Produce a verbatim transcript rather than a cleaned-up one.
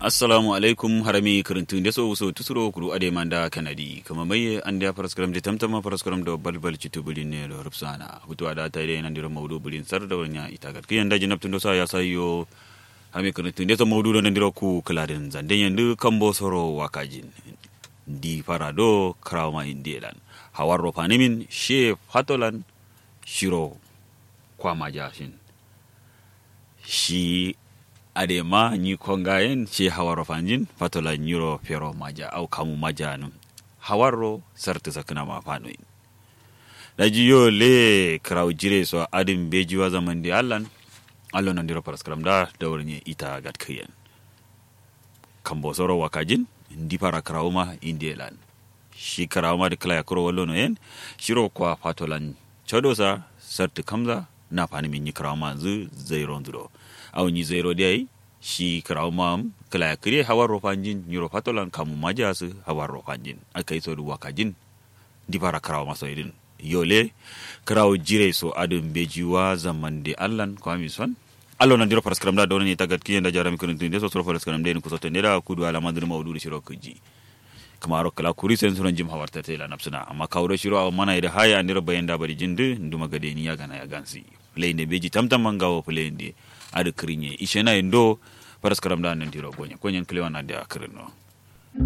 Assalamu alaikum. Harami kǝrǝntǝ ndeso wuso tusuro kuru adai manda kanadi kǝma maiye andeya faraskaram de tamtama faraskaram do balbal citu bǝlin ne do rǝpsana hutu ada tayi dai nandiro maudu bǝlin sar da wanya ita gat kǝyen daji naptǝ ndoso ya sayo. Harami kǝrǝntǝ ndeso maudu do nandiro ku kǝladin zanden yandǝ kambo soro wakajin. Ndi fara do kǝrawama indiye lan hawarro fanimin she fatolan shiro kwamaja shin. Shi adema nyi kongayen she hawarro fanjin fatola nyiro fero maja au kamu maja num. Hawarro sartǝ sakkǝnama fanoyin. Daji yo le kǝrawu jire so adǝn beji wa zamande allan. Allo nandiro faraskaram da dawar nye ita gatkǝyen. Kambo soro wakajin ndi fara kǝrawuma indiye lan. Shi kǝrawuma dǝ kǝla yakkuro wallono yen shiro kwa fatolan cadosa sartǝ kamza. Na fanimin nyi kǝrawuma nzǝ zaironzǝ do au nyi zairo dai. Shi kǝrawuma am kǝla yakkǝ dai hawarro fanjin nyiro fatolan kamu maja sǝ hawarro fanjin. Akai so dǝ wakajin ndi fara kǝrawuma so idin. Yo le kǝrawu jire so adǝn beji wa zamande allan kwami son. Allo nandiro faraskaram da dawar nye ita gatkǝyen daji harami kǝrǝntǝ ndeso soro faraskaram dai nǝ kusoto ndeda kudu alama nzǝ dǝ maudu dǝ shiro kǝji. Kǝmaro kǝla kuri sen suron jim hawarta tela napsǝna amma kawu do shiro awo mana ye dǝ haye andero bayen da bari jin dǝ nduma gade ni yagana yagansi. Fǝlai nde beji tamtam ma ngawo fǝlai nde adǝ kǝrin ye ishe na ye ndo. Faraskaram da nandiro gonye konyen kǝlewan adǝ a kǝrin no.